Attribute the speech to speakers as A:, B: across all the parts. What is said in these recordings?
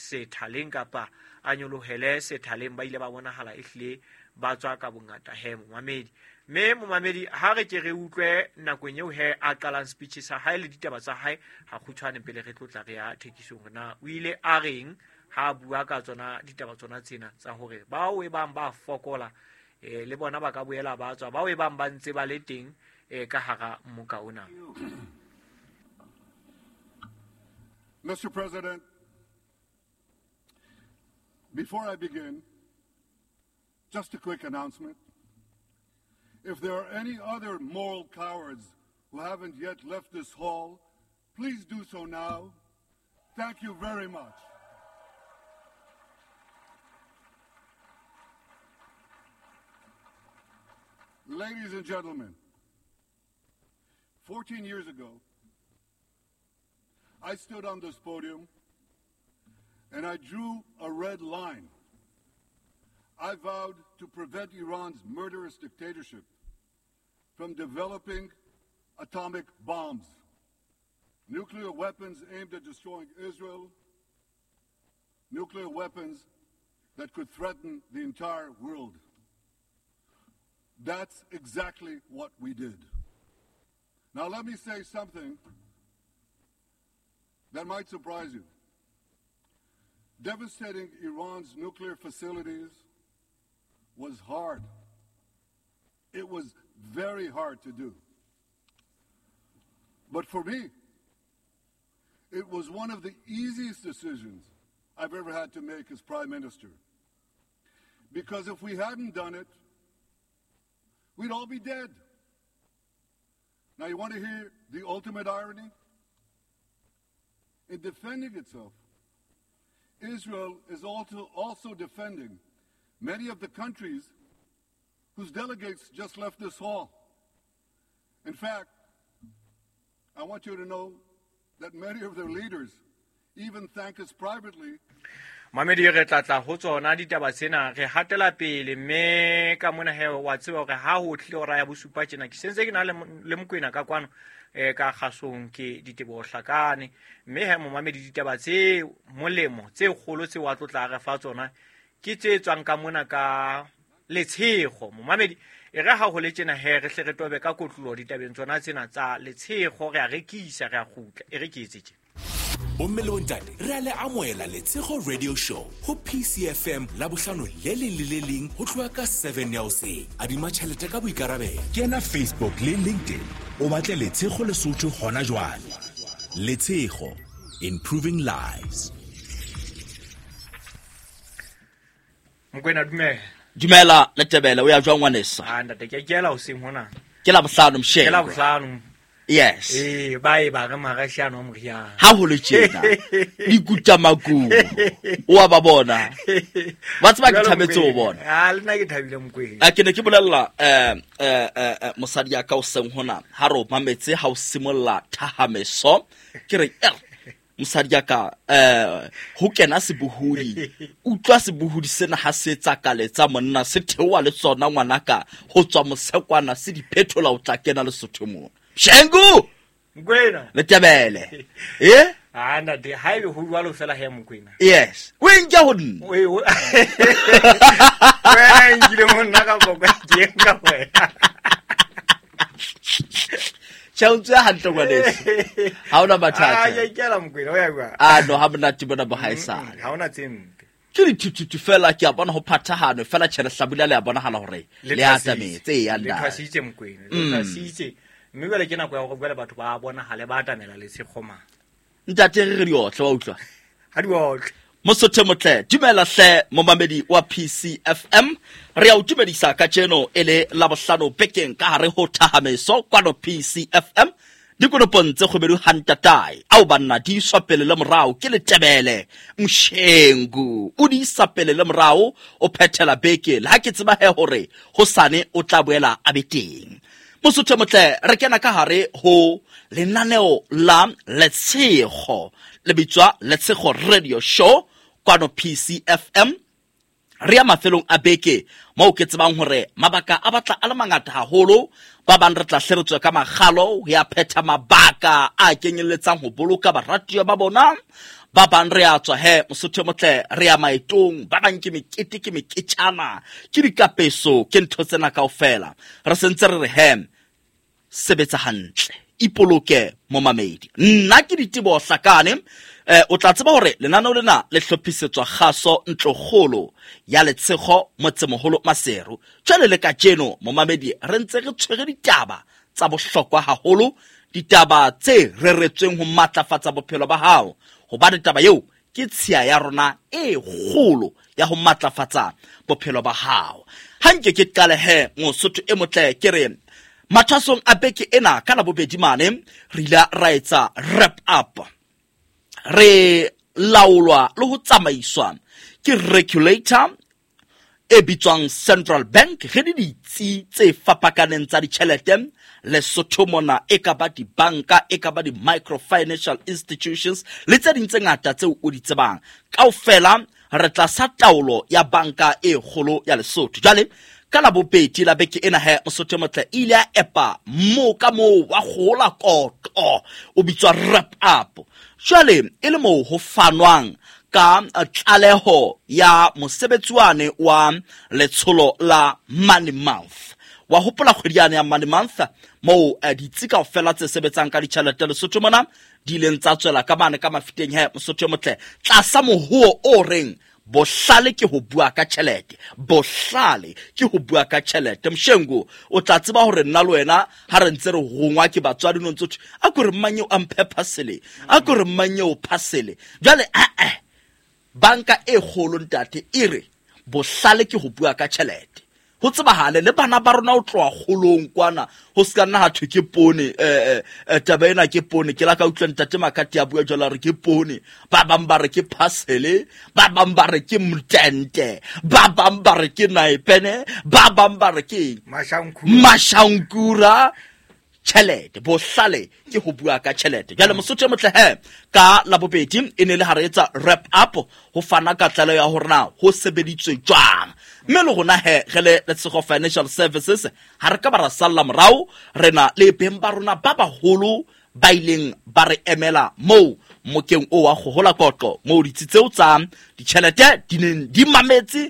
A: Sethaleng kapa a nyolohele sethaleng. Ba ile ba bonahala ehlile ba tswa ka bongata he momamedi. Mme momamedi, ha re ke re utlwe nakong eo he a qalang speech sa hae le ditaba tsa hae ha kgutshwane pele re tlotla re ya thekisong, hore na o ile a reng ha a bua ka tsona ditaba tsona tsena tsa hore bao e bang ba fokola le bona ba ka boela ba tswa, bao e bang ba ntse ba le teng ka hara moka ona.
B: Mr. President, before I begin, just a quick announcement. If there are any other moral cowards who haven't yet left this hall, please do so now. Thank you very much. Ladies and gentlemen, 14 years ago, I stood on this podium and I drew a red line. I vowed to prevent Iran's murderous dictatorship from developing atomic bombs, nuclear weapons aimed at destroying Israel, nuclear weapons that could threaten the entire world. That's exactly what we did. Now let me say something that might surprise you. Devastating Iran's nuclear facilities was hard. It was very hard to do. But for me, it was one of the easiest decisions I've ever had to make as Prime Minister. Because if we hadn't done it, we'd all be dead. Now, you want to hear the ultimate irony? In defending itself, Israel is also defending many of the countries whose delegates just left this hall. In fact, I want you to know that many of their leaders even thank us privately.
A: Mamedi, re tla tla ho tsona ditaba tsena, re hatela pele mme ka mona he wa tseba hore ha ho tlile hora ya bosupa tjena, ke sentse ke na le Mokwena ka kwano ka kgasong ke Diteboho Hlakane. Mme he momamedi, ditaba tse molemo tse kgolo tse wa tlotla re fa tsona ke tse tswang ka mona ka Letshego. Momamedi, e re ha ho le tjena he re hle re tobe ka kotlolo ditabeng tsona tsena tsa Letshego, re a rekisa, re a kgutla, e re ke etse tje.
C: Bomme le bontate, re a le amohela Letshego Radio Show ho PCFM la bohlano le leng le le leng ho tloha ka 7 ya hoseng. Adima tjhelete ka boikarabelo. Kena Facebook le LinkedIn, o batle Letshego Lesotho hona jwale. Letshego, improving lives.
A: Mokwena, dumela.
D: Dumela Letebele, o ya jwang ngwanesa?
A: Ah, ntate, ke kela hoseng hona.
D: Ke la bohlano msheng.
A: Ke la bohlano.
D: Yes.
A: Ba e ba re marashiano a moriana.
D: Ha ho le tjena, dikuta makubu. O a ba bona. Ba tseba ke thabetse ho bona.
A: Ah, le nna ke thabile Mokwena.
D: A ke ne ke bolella mosadi ya ka hoseng hona, ha re o mametse ha o simolla thahameso, ke re, mosadi ya ka, ho kena sebohodi. Utlwa sebohodi sena ha se etsa kaletsa monna, se theoha le tsona ngwanaka, ho tswa mosekwana se di phethola ho tla kena Lesotho mona. Shengu!
A: Mokwena.
D: Letebele.
A: Ah, ntate, ha ebe ho jwalo fela he Mokwena.
D: Yes. O e nke ho nna.
A: O e ho- Wena e nkile ho nna ka poko, ke e nka ho wena.
D: Tjhe, o ntse hantle ngwaneso. Ha hona mathata.
A: Ah, ke kela Mokwena, o ya jwang?
D: Ah, no, ha monate bona bo haesale.
A: Ha hona tse mpe.
D: Ke dithuthutu fela, ke a bona ho phathahane fela, tjhe, lehlabula le a bonahala hore
A: Le
D: le a
A: thwasitse.
D: atametse, eya,
A: Le
D: ntate.
A: thwasitse Mokwena, le thwasitse. Mme jwale ke nako ya hore jwale batho ba bonahale ba atamela Letshego mane.
D: Ntate, re re diotle, wa utlwa?
A: Ha diotle.
D: Mosotho motle, dumela hle momamedi wa PCFM. Re a o dumedisa kajeno e le Labohlano bekeng ka hare ho Thahameso kwano PCFM. Dikonopong tse kgubedu hantatae, ao banna di iswa pele le morao ke Letebele Mshengu. O di isa pele le morao, o phethela beke le ha ke tseba he hore hosane o tla boela a be teng. Mosotho motle, re kena ka hare ho lenaneo la Letshego, le bitswa Letshego Radio Show kwano PCFM. Re ya mafelong a beke moo ke tsebang hore mabaka a batla a le mangata haholo. Ba bang re tla hle re tswe ka makgalo ho ya phetha mabaka a kenyelletsang ho boloka baratuwa ba bona. Ba bang re a tswa he Mosotho e motle, re ya maetong, ba bang ke mekete, ke meketjana, ke dikapeso, ke ntho tsena kaofela. Re sentse re re he, sebetsa hantle, ipoloke momamedi. Nna ke Diteboho Hlakane. O tla tseba hore lenaneo lena le hlophisetswa kgaso ntlokgolo ya Letshego motsemoholo Maseru. Jwale le kajeno momamedi re ntse re tshwere ditaba tsa bohlokwa haholo, ditaba tse reretsweng ho matlafatsa bophelo ba hao, hobane taba eo ke tshiya ya rona e kgolo ya ho matlafatsa bophelo ba hao. Ha nke ke qale he Mosotho e motle, ke re mathwasong a beke ena ka Labobedi mane re ile ra etsa wrap up. Re laolwa le ho tsamaiswa ke regulator e bitswang Central Bank, re le ditsi tse fapakaneng tsa ditjhelete Lesotho mona, e ka ba dibanka, e ka ba di-microfinancial institutions le tse ding tse ngata tseo o di tsebang. Kaofela re tlasa taolo ya banka e kgolo ya Lesotho. Jwale ka Labobedi la beke ena he Mosotho e motle e ile ya epa moo ka moo wa kgola kotlo o bitswa wrap up. Jwale e le moo ho fanwang ka tlaleho ya mosebetsi wane wa letsholo la Money Month. Wa hopola kgwedi yane ya Money Month moo ditsi kaofela tse sebetsang ka ditjhelete Lesotho mona di ileng tsa tswela ka mane ka mafiteng he Mosotho e motle, tlasa mohuo o reng bohlale ke ho bua ka tjhelete, bohlale ke ho bua ka tjhelete. Mshengu, o tla tseba hore nna le wena ha re ntse re rongwa ke batswadi no ntse thwe, a ko re mang eo a mphe parcel, a ko re mang eo parcel. Jwale banka e kgolo ntate e re bohlale ke ho bua ka tjhelete. Ho tsebahale le bana ba rona ho tloha kgolong kwana, ho se ka nna ha thwe ke poone, taba ena ke poone. Ke la ka utlwa ntate Makati a bua jwalo, a re ke poone, ba bang ba re ke parcel, ba bang ba re ke mtente, ba bang ba re ke naepene, ba bang ba re ke eng?
A: Mashankura.
D: Mashankura. Tjhelete, bohlale ke ho bua ka tjhelete. Jwale Mosotho e motle he, ka Labobedi e ne le ha re etsa wrap up ho fana ka tlaleho ya hore na ho sebeditswe jwang. Mme le rona he re le Letshego Financial Services ha re ka ba ra salla morao, re na le beng ba rona ba baholo ba ileng ba re emela moo mokeng o wa kgohola kotlo, moo ditsi tseo tsa ditjhelete di neng di mametse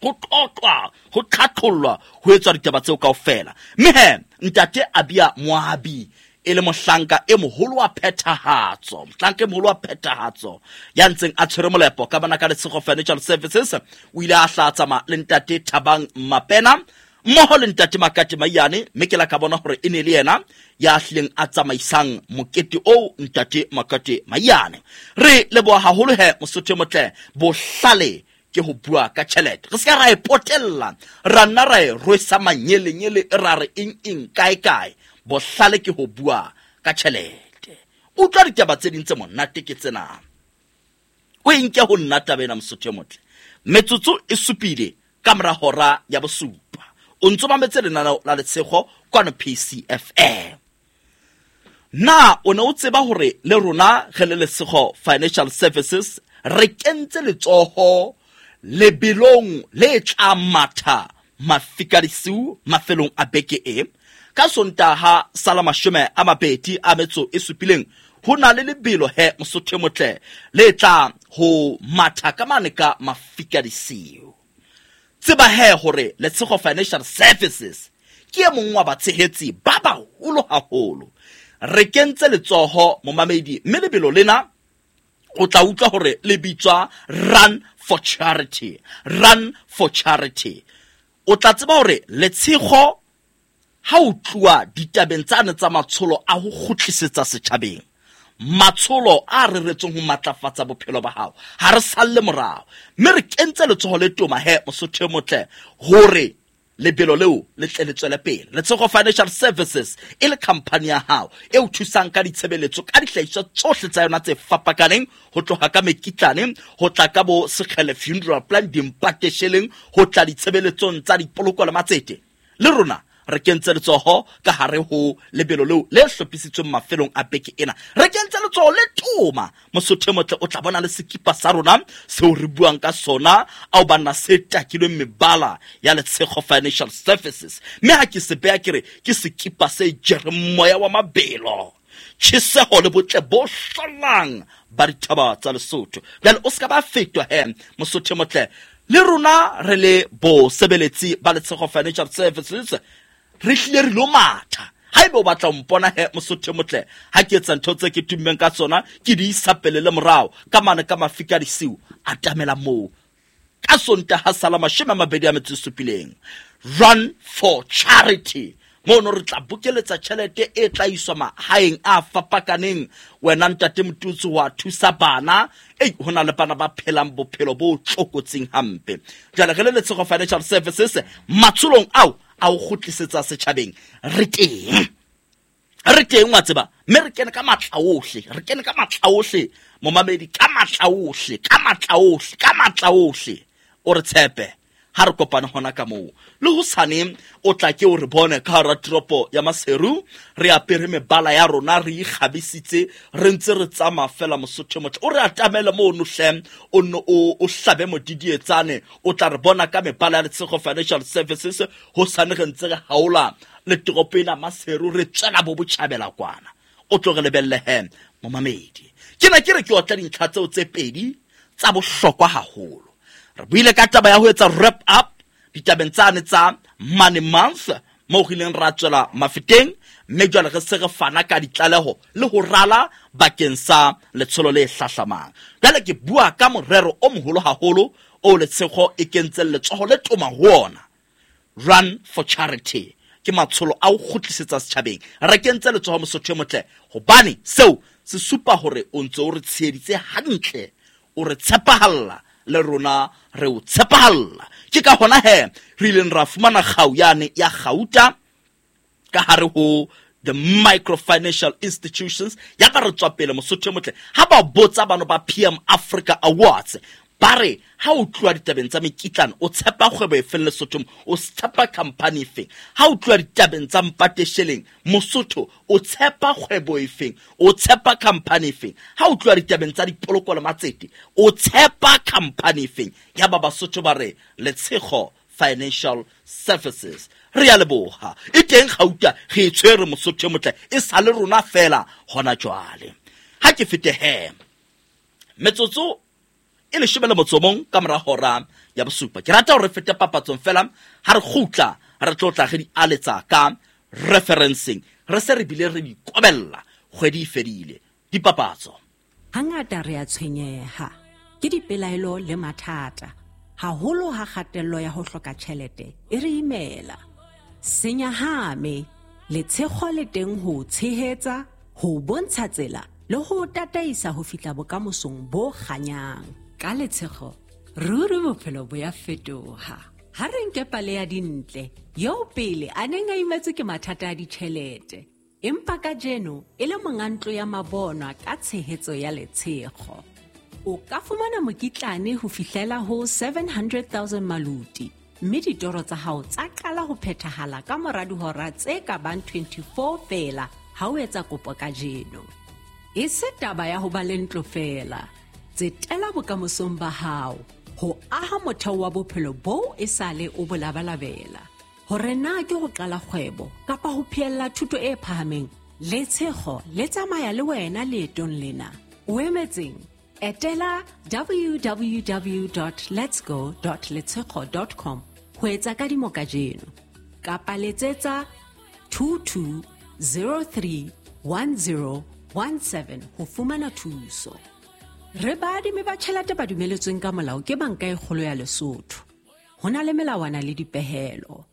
D: ho qoqwa, ho qhaqhollwa, ho etswa ditaba tseo kaofela. Mme he ntate Abia Moabi e le mohlanka e moholo wa phethahatso, mohlanka e moholo wa phethahatso ya ntseng a tshwere molepo ka bana ka Letshego Financial Services, o ile a hla tsamaya le ntate Thabang Mapena mmoho le ntate Makate Maiyane, mme ke la ka bona hore e ne le yena ya hlileng a tsamaisang mokete oo ntate Makate Maiyane. Re leboha haholo he Mosotho e motle, bohlale ke ho bua ka tjhelete. Re se ka ra e potella, ra nna ra e rwesa manyelenyele, ra re eng eng kae kae. Bohlale ke ho bua ka tjhelete. Utlwa ditaba tse ding tse monate ke tsena. O e nke ho nna taba ena Mosotho e motle. Metsotso e supile ka mora hora ya bosupa. O ntso mametse lenaneo la Letshego kwano PCFM. Na o ne o tseba hore le rona re le Letshego Financial Services re kentse letsoho lebelong le tla matha mafika disiu mafelong a beke e? Ka Sontaha sa la 27, ho na le lebelo he Mosotho e motle le tla ho matha ka mane ka mafika disiu. Tseba he hore Letshego Financial Services ke e mong wa batshehetsi ba baholo haholo. Re kentse letsoho momamedi, mme lebelo lena o tla utlwa hore le bitswa Run for Charity. Run for Charity. O tla tseba hore Letshego ha o tluwa ditabeng tsane tsa matsholo a ho kgutlisetsa setjhabeng, matsholo a reretsweng ho matlafatsa bophelo ba hao, ha re salle morao. Mme re kentse letsoho le toma he Mosotho e motle hore lebelo leo le tle le tswele pele. Letshego Financial Services e le company ya hao e o thusang ka ditshebeletso, ka dihlahiswa tsohle tsa yona tse fapakaneng, ho tloha ka mekitlane, ho tla ka bo Sekgele Funeral Plan, dimpatesheleng, ho tla ditshebeletsong tsa dipoloko le matsete. Le rona re kentse letsoho ka hare ho lebelo leo le hlophisitsweng mafelong a beke ena. Re kentse letsoho le toma. Mosotho e motle o tla bona le sekipa sa rona seo re buang ka sona, ao banna se takilweng mebala ya Letshego Financial Services. Mme ha ke se beha ke re ke sekipa se jereng moya wa mabelo. Tjheseho le botle bo hlollang ba dithaba tsa Lesotho. Jwale o ska ba fetwa he, Mosotho motle. Le rona re le bosebeletsi ba Letshego Financial Services re hlile re lo matha. Haeba o batla ho mpona he, Mosotho motle, ha ke etsa ntho tse ke tummeng ka tsona, ke di isa pele le morao ka mane ka mafika disiu, atamela moo ka Sontaha sala 27. Run for Charity, mono re tla bokeletsa tjhelete e tla iswa mahaeng a fapakaneng. Wena ntate Motutsi wa thusa bana, ei ho na le bana ba phelang bophelo bo tlokotsing hampe. Jwale re le Letshego Financial Services matsholong ao a o kgutlisetsa setjhabeng, re teng, re teng wa tseba, mme re kene ka matla ohle, re kene ka matla ohle momamedi, ka matla ohle, ka matla ohle, ka matla ohle. O re tshepe ha re kopane hona ka moo. Le hosane o tla ke o re bone ka hara toropo ya Maseru, re apere mebala ya rona, re ikgabisitse, re ntse re tsamaya fela. Mosotho motle, o re atamele mono hle, o nne o hlabe modidietsane, o tla re bona ka mebala ya Letshego Financial Services. Hosane re ntse re haola le toropo ena Maseru, re tswela bo botjhabela kwana. O tlo re lebelle he momamedi. Ke na ke re ke otla dintlha tseo tse pedi tsa bohlokwa haholo. Re buile ka taba ya ho etsa wrap up ditabeng tsane tsa Money Month, moo re ileng ra tswela mafeteng, mme jwale re se re fana ka ditlaleho le ho rala bakeng sa letsholo le hlahlamang. Jwale ke bua ka morero o moholo haholo o Letshego e kentseng letsoho le toma ho ona, Run for Charity. Ke matsholo a ho kgutlisetsa setjhabeng. Re kentse letsoho Mosotho e motle, hobane seo se supa hore o ntse o re tsheheditse hantle, o re tshepahalla, le rona re o tshepahalla. Ke ka hona he re ileng ra fumana kgau yane ya kgauta ka hare ho the microfinancial institutions. Ya ba re tswa pele Mosotho e motle. Ha ba botsa bano ba PM Africa Awards, ba re ha o tloha ditabeng tsa mekitlane o tshepa kgwebo e feng Lesothong, o tshepa company e feng? Ha o tloha ditabeng tsa mpatesheleng Mosotho, o tshepa kgwebo e feng, o tshepa company e feng? Ha o tloha ditabeng tsa dipoloko le matsete, o tshepa company e feng? Ya ba Basotho ba re Letshego Financial Services. Re ya leboha. E teng kgauta re e tshwere Mosotho e motle, e sa le rona fela hona jwale. Ha ke fete he metsotso e 11 ka mora hora ya bosupa. Ke rata hore re fete papatsong fela, ha re kgutla re tlo tla re di aletsa ka referencing, re se re bile re di kobella kgwedi e fedile. Dipapatso.
E: Hangata re a tshwenyeha ke dipelaelo le mathata, haholo ha kgatello ya ho hloka tjhelete e re imela. Senyahame, Letshego le teng ho tshehetsa, ho bontsha tsela le ho tataisa ho fihla bokamosong bo kganyang. Ka Letshego, ruri bophelo bo ya fetoha. Ha re nke pale ya Dintle, eo pele a neng a imetswe ke mathata a ditjhelete, empa kajeno e le monga ntlo ya mabonwa ka tshehetso ya Letshego. O ka fumana mokitlane ho fihlela ho 700,000 maluti, mme ditoro tsa hao tsa qala ho phethahala ka mora dihora tse ka bang 24 feela ha o etsa kopo kajeno. E se taba ya ho ba le ntlo feela, tsetela bokamosong ba hao, ho aha motheo wa bophelo boo e sale o bo labalabela. Hore na ke ho qala kgwebo kapa ho phehella thuto e phahameng, Letshego le tsamaya le wena leetong lena. O emetseng? Etela www.letsgo.letshego.com ho etsa kadimo kajeno, kapa letsetsa 22031017 ho fumana thuso. Re baadimi ba tjhelete ba dumeletsweng ka molao ke Banka e Kgolo ya Lesotho. Ho na le melawana le dipehelo.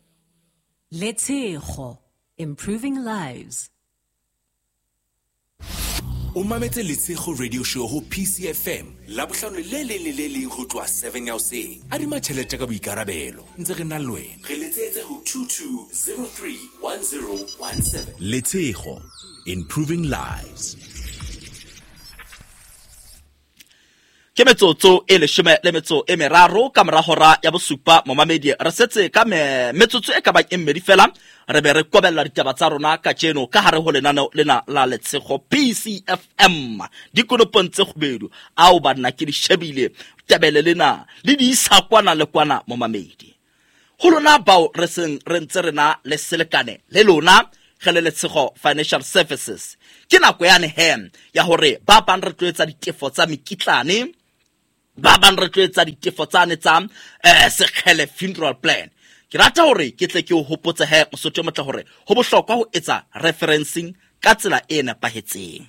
E: Letshego, improving lives.
C: O mametse Letshego Radio Show ho PCFM Labohlano le leng le le leng ho tloha 7 ya hoseng. Adima tjhelete ka boikarabelo, ntse re na le wena. Re letsetse ho 22031017. Letshego, improving lives.
D: Ke metsotso e 13 ka mora hora ya bosupa momamedi. Re setse ka metsotso e ka bang e mmedi fela, re be re kobella ditaba tsa rona kajeno ka hare ho lenaneo lena la Letshego PCFM. Dikonopong tse kgubedu ao banna ke di shebile tebele lena le di isa kwana le kwana momamedi. Ho lona bao re seng re ntse re na le selekane le lona, Re le Letshego Financial Services. Ke nako yane he ya hore ba bang re tlo etsa ditefo tsa mekitlane, ba bang re tlo etsa ditefo tsane tsa Sekgele funeral plan. Ke rata hore ke tle ke o hopotse he Mosotho o motle hore ho bohlokwa ho etsa referencing ka tsela e nepahetseng.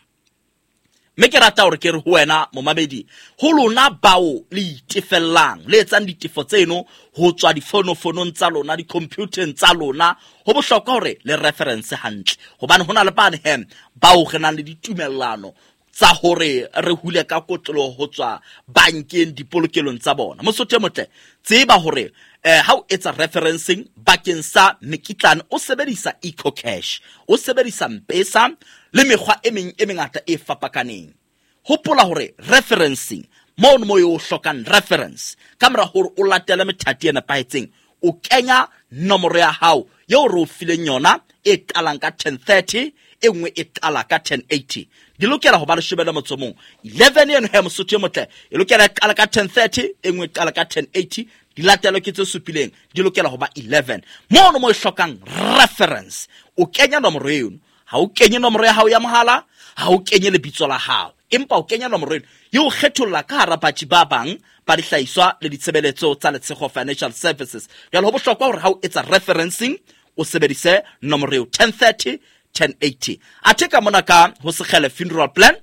D: Mme ke rata hore ke re ho wena momamedi, ho lona bao le itefellang, le etsang ditefo tseno ho tswa difonofonong tsa lona, di-computeng tsa lona, ho bohlokwa hore le reference hantle, hobane ho na le bane he bao re nang le ditumellano tsa hore re hule ka kotloloho ho tswa bankeng dipolokelong tsa bona. Mosotho e motle, tseba hore ha o etsa referencing bakeng sa mekitlane, o sebedisa EcoCash, o sebedisa Mpesa le mekgwa e meng e mengata e fapakaneng. Hopola hore referencing mono mo o hlokang reference, ka mora hore o latele methati e nepahetseng, o kenya nomoro ya hao eo re o fileng yona e qalang ka 1030, e nngwe e qala ka 1080. Di lokela ho ba 11. 11 eno he Mosotho e motle, e lokela e qala ka 1030, e nngwe e qala ka 1080, di latelwe ke tse supileng, di lokela ho ba 11. Mono mo e hlokang reference, o kenya nomoro eno. Ha o kenye nomoro ya hao ya mohala, ha o kenye lebitso la hao, empa o kenya nomoro eno e o kgetholla ka hara batjhi ba bang ba dihlahiswa le ditshebeletso tsa Letshego Financial Services. Jwale ho bohlokwa hore ha o etsa referencing o sebedise nomoro eo 1030 1080. Athe ka mona ka ho Sekgele funeral plan,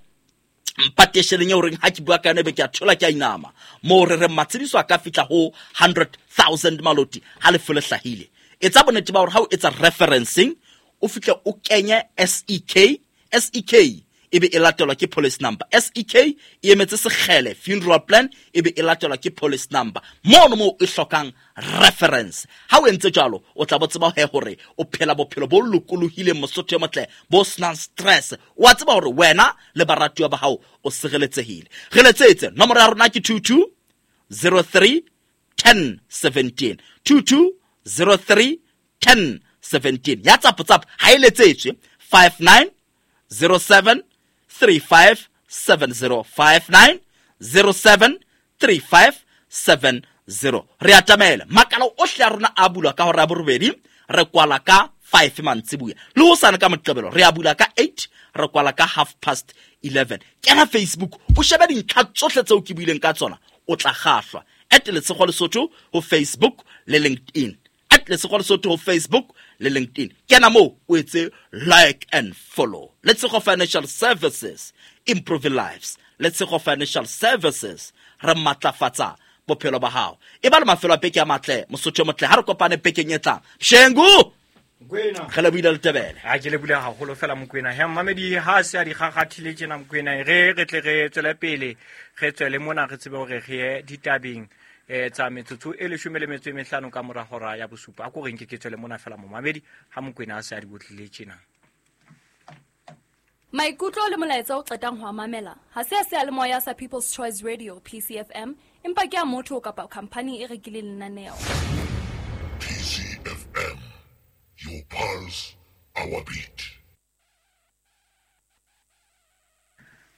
D: mpatesheleng eo reng ha ke bua ka yona ebe ke a thola ke a inama, moo re reng matshediso a ka fihla ho 100,000 maloti ha lefu le hlahile. Etsa bonnete ba hore ha o etsa referencing o fihle o kenye SEK, SEK ebe e latelwa ke policy number. SEK e emetse Sekgele funeral plan, ebe e latelwa ke policy number. Mono moo e hlokang reference. Ha o entse jwalo, o tla bo tseba he hore o phela bophelo bo lokolohileng Mosotho e motle, bo senang stress. O a tseba hore wena le baratuwa ba hao o sireletsehile. Re letsetse, nomoro ya rona ke 22 03 10 17. 22 03 10 17. Ya tsapo tsapo ha e letsetswe 59 07 35 70, 59 07 35 70. Re atamela makala ohle a rona a bulwa ka hora ya borobedi, re kwala ka 5 mantsibuya. Le hosane ka Moqebelo re a bula ka 8, re kwala ka 11:30. Kena Facebook o shebe dintlha tsohle tseo ke buileng ka tsona, o tla kgahlwa. At Letshego Lesotho ho Facebook le LinkedIn. At Letshego Lesotho ho Facebook le LinkedIn. Kena moo o etse like and follow. Letshego Financial Services, improving lives. Letshego Financial Services, re matlafatsa bophelo ba hao. E ba le mafelo a beke a matle, Mosotho o motle, ha re kopane bekeng e tlang. Shengu!
A: Mokwena.
D: Re lebohile Letebele.
A: Ha ke lebohile haholo fela Mokwena. He mmamedi ha se a di kgakgathile tjena Mokwena, re tle re tswele pele, re tswele mona re tsebe hore re ye ditabeng tsa metsotso e 15 ka mora hora ya bosupa. A ko reng ke tswele mona fela momamedi ha Mokwena a se a di botlile tjena.
F: Maikutlo le molaetsa o qetang ho a mamela ha se a seyalemoya sa People's Choice Radio PCFM, empa ke a motho kapa khampani e rekileng lenaneo.
G: PCFM, your pulse, our beat.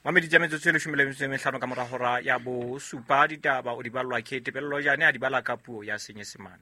A: Mamedi tsa metsotso e 15 ka mora hora ya bosupa, ditaba o di ballwa ke Tebello Jane, a di bala ka puo ya Senyesemane.